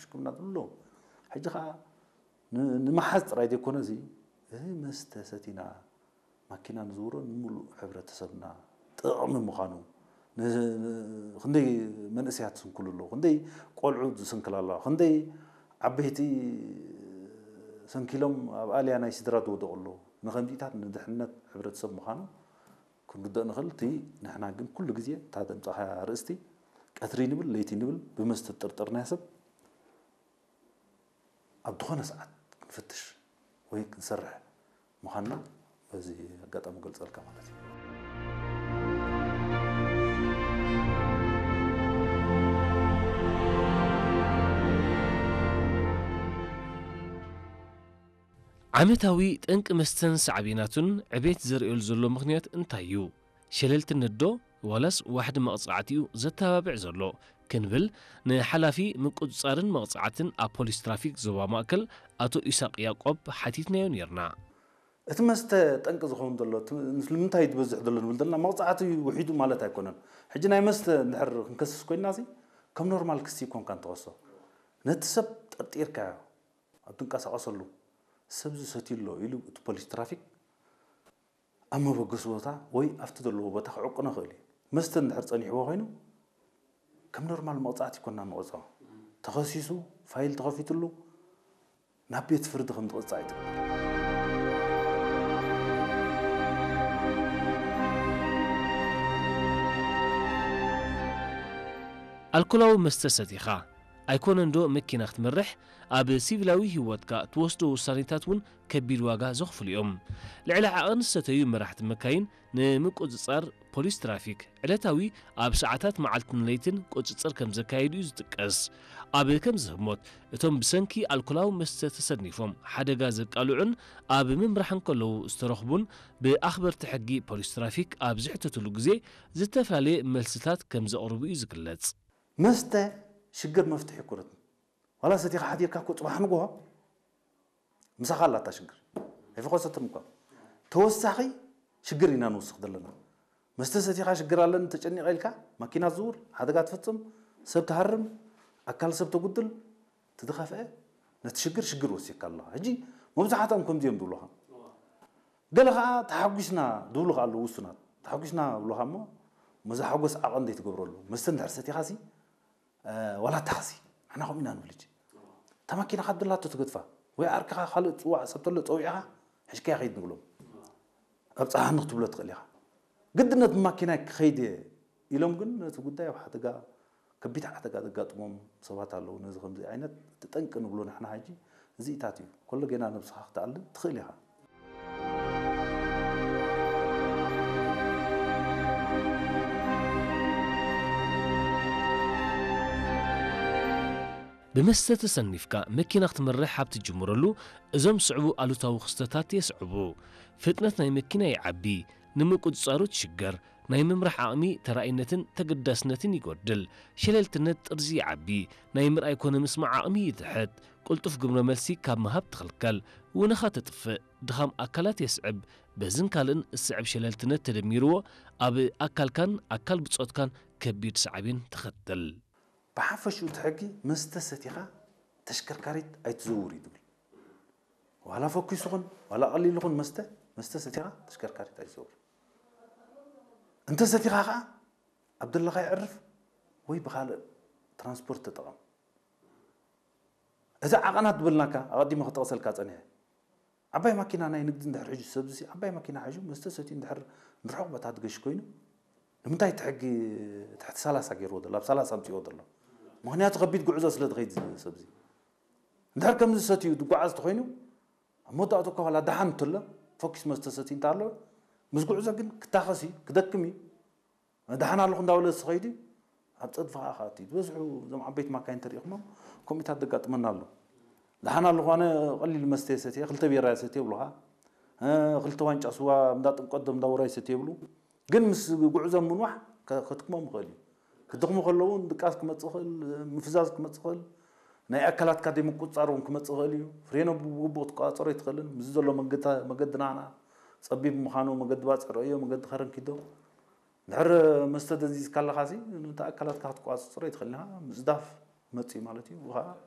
ሽክምና ዝብሉ ኣለዉ። ሕጂ ኸዓ ን-፣ ንምሓዝ ጥራይ ዘይኮነ፣ እዚ፣ እዚ መስተ ሰቲና ማኪና ንዝውሮ ንምሉእ ሕብረተሰብና ጥቕሚ ምዃኑ፣ ን-፣ ን-፣ ክንደይ መንእሰያት ዝስንክሉ ኣለዉ፣ ክንደይ ቆልዑ ዝስንክላ ኣለዋ፣ ክንደይ ዓበይቲ ሰንኪሎም ኣብ ኣልያ ናይ ስድራ ዝወደቑ ኣለዉ። ንኸምዚታት ንድሕነት ሕብረተሰብ ምዃኑ ክንርድኦ ንኽእል። እቲ ንሕና ግን ኩሉ ግዜ እታ ዘምጻእኻያ ኣርእስቲ፣ ቀትሪ ንብል ለይቲ ንብል ብመስተ ዝጥርጠርናዮ ሰብ ኣብ ዝኾነ ሰዓት ክንፍትሽ ወይ ክንሰርሕ ምዃንና በዚ ኣጋጣሚ ገልጸልካ ማለት እዩ። ዓመታዊ ጠንቂ መስተን ሳዕቤናቱን ዕቤት ዘርእየሉ ዘሎ ምኽንያት እንታይ እዩ? ሸለልትነት ዶ ዋላስ ዋሕዲ መቕጻዕቲ እዩ ዘተባብዕ ዘሎ? ክንብል ንሓላፊ ምቁጽጻርን መቕጻዕትን ኣብ ፖሊስ ትራፊክ ዞባ ማእከል ኣቶ ኢሳቕ ያቆብ ሓቲትናዮ ኔርና። እቲ መስተ ጠንቂ ዝኸውን ዘሎ እቲ ንምንታይ እዩ ዝበዝሕ ዘሎ ንብል ዘለና መቕጻዕቲ ውሒዱ ማለት ኣይኮነን። ሕጂ ናይ መስተ እንድሕር ክንከስስ ኮይንና ሲ ከም ኖርማል ክሲ ይኮንካ እንተኸሶ ነቲ ሰብ ጠርጢርካዮ ኣብ ትንቀሳቐሰሉ ሰብ ዝሰትዩ ኣሎ ኢሉ እቲ ፖሊስ ትራፊክ ኣብ መበገሲ ቦታ ወይ ኣብቲ ዘለዎ ቦታ ክዕቅኖ ይኽእል እዩ። መስተ እንድሕር ጸኒሕዎ ኮይኑ ከም ኖርማል መቕጻዕቲ ይኮና ንቐጽዖ። ተኸሲሱ ፋይል ተኸፊትሉ ናብ ቤት ፍርዲ ከም ዝቐጻዕ ይትግበር። ኣልኮላዊ መስተ ሰቲኻ ኣይኮነን ዶ መኪና ክትመርሕ? ኣብ ሲቪላዊ ህይወትካ ትወስዶ ውሳኔታት እውን ከቢድ ዋጋ ዘኽፍሉ እዮም። ልዕሊ ዓቐን ዝሰተዩ መራሕቲ መካይን ንምቁጽጻር ፖሊስ ትራፊክ ዕለታዊ ኣብ ሰዓታት መዓልትን ለይትን ቁጽጽር ከም ዘካየዱ እዩ ዝጥቀስ። ኣብ ከምዚ ህሞት እቶም ብሰንኪ ኣልኮላዊ መስተ ተሰኒፎም ሓደጋ ዘቃልዑን ኣብ ምምራሕ እንከለዉ ዝተረኽቡን ብኣኽበርቲ ሕጊ ፖሊስ ትራፊክ ኣብ ዝሕተትሉ ግዜ ዝተፈላለየ መልስታት ከም ዘቕርቡ እዩ ዝግለጽ። መስተ ሽግር መፍትሒ ኣይኮነትን። ዋላ ሰቲኻ ሓዲርካ እኮ ጽባሕ ንግሆ ምሳኻ ኣላ እታ ሽግር። ኣይፈኾሰትን እኳ። ተወሳኺ ሽግር ኢና ንውስኽ ዘለና። መስተ ሰቲኻ ሽግር ኣለኒ ተጨኒቐ ኢልካ ማኪና ትዝውር፣ ሓደጋ ትፍጽም፣ ሰብ ትሃርም፣ ኣካል ሰብ ተጉድል፣ እቲ ዝኸፍአ ነቲ ሽግር ሽግር ወሲኽካ ኣለኻ። ሕጂ መብዛሕትኦም ከምዚ እዮም ዝብሉኻ። ገለ ኸዓ ተሓጒስና ዝብሉ ኸዓ ኣለዉ ውሱናት። ተሓጒስና ዝብሉኻ እሞ መዛ ሓጎስ ዓቐን ዘይትገብረሉ። መስተ እንድሕር ሰቲኻሲ ዋላ ታኽሲ ንሕና ከምኡ ኢና ንብል። ሕጂ እታ ማኪናኻ ድላቶ ትገድፋ ወይ ዓርክኻ ካልእ ትፅዋዕ ሰብ ተሎ ፀዊዕኻ ሕሽካያ ከይድ ንብሎም። ኣብ ፀሓኒ ክትብሎ ትኽእል ኢኻ። ግድነት ብማኪናይ ክኸይድ እየ ኢሎም ግን ነቲ ጉዳይ ኣብ ሓደጋ ከቢድ ሓደጋ ዘጋጥሞም ሰባት ኣለዉ። ነዚ ከምዚ ዓይነት እቲ ጠንቂ ንብሎ ንሕና ሕጂ እዚኢታት እዩ። ኮሎ ጌና ነብስኻ ክትኣልን ትኽእል ኢኻ። ብመስተ ተሰኒፍካ መኪና ክትመርሕ ኣብ ትጅምረሉ እዞም ዝስዕቡ ኣሉታዊ ክስተታት የስዕቡ። ፍጥነት ናይ መኪና ይዓቢ፣ ንምቁጽጻሩ ትሽገር፣ ናይ ምምራሕ ዓቕሚ ተራኢነትን ተገዳስነትን ይጎድል፣ ሸለልትነት ጥርዚ ይዓቢ፣ ናይ ምርኣይ ኮነ ምስማዕ ዓቕሚ ይትሕት፣ ቅልጡፍ ግብረ መልሲ ካብ ምሃብ ትኽልከል፣ ውነኻ ተጥፍእ፣ ድኻም ኣካላት የስዕብ፣ በዝን ካልእን ዝስዕብ ሸለልትነት ተደሚርዎ ኣብ ኣካልካን ኣካል ብጾትካን ከቢድ ሳዕቤን ተኸትል። ብሓፈሽኡ እቲ ሕጊ መስተ ሰቲኻ ተሽከርካሪት ኣይትዘውር እዩ ዝብል። ዋላ ፈኲሱ ኹን ዋላ ቀሊሉ ኹን መስተ መስተ ሰቲኻ ተሽከርካሪት ኣይትዘውር። እንተ ሰቲኻ ኸዓ ኣብ ደለኻዮ ዕርፍ ወይ ብኻልእ ትራንስፖርት ተጠቐም። እዚ ዓቐናት ዝበልናካ ኣቐዲመ ክጠቕሰልካ ጸኒሐ። ዓባይ ማኪና ናይ ንግዲ እንድሕር ሒዙ ሰብዚ ዓባይ ማኪና ሒዙ መስተ ሰትዩ እንድሕር ንርሑቕ ቦታ ዝገሽ ኮይኑ ንምንታይ እቲ ሕጊ ትሕቲ ሰላሳ ገይርዎ ዘሎ ኣብ ሰላሳ ኣምፅዎ ዘሎ? ምክንያቱ ከቢድ ጉዕዞ ስለ ዝኸይድ ሰብዚ እንድሕር ከምዚ ሰትዩ ዝጓዓዝ ተኮይኑ ኣብ መወዳእቱ እኳ ዋላ ደሓን እንተሎ ፈኪስ መስተ ሰትዩ እንተ ኣሎ ምስ ጉዕዞ ግን ክታኸስ እዩ ክደክም እዩ። ደሓን ኣለኹ እንዳበለ ዝኸይድ እዩ ኣብ ፀድፊ ከዓ ክኣቱ እዩ ዝበዝሑ እዞም ዓበይቲ ማካይን ተሪኢኹሞም ከምኡታት ዘጋጥመና ኣሎ። ደሓን ኣለኹ ኣነ ቀሊል መስተ እየ ሰትየ ክልተ ቢራ እየ ሰትየ ይብሉኻ። ክልተ ዋንጫ ስዋ እንዳ ጥምቀት ዶ እንዳ ውራይ ሰትየ ይብሉ። ግን ምስ ጉዕዞ ምንዋሕ ከድክሞም ይኽእል እዩ። ክድኽሙ ከለዉ እውን ድቃስ ክመፅእ ይኽእል፣ ምፍዛዝ ክመፅእ ይኽእል፣ ናይ ኣካላትካ ዘይምቁፅፃር እውን ክመፅእ ይኽእል እዩ። ፍሬኖ ብግቡእ ክትቆፃፀሮ ኣይትኽእልን። ምስዚ ዘሎ መገዲ ናህና ፀቢብ ምዃኑ መገዲ ባፅዕ ርእዮ፣ መገዲ ከረን ኪዶ። እንድሕር መስተ ደንዚዝካ ኣለኻሲ ነቲ ኣካላትካ ክትቆፃፀሮ ኣይትኽእልን ኢኻ። ምፅዳፍ መፅእ እዩ ማለት እዩ። ከዓ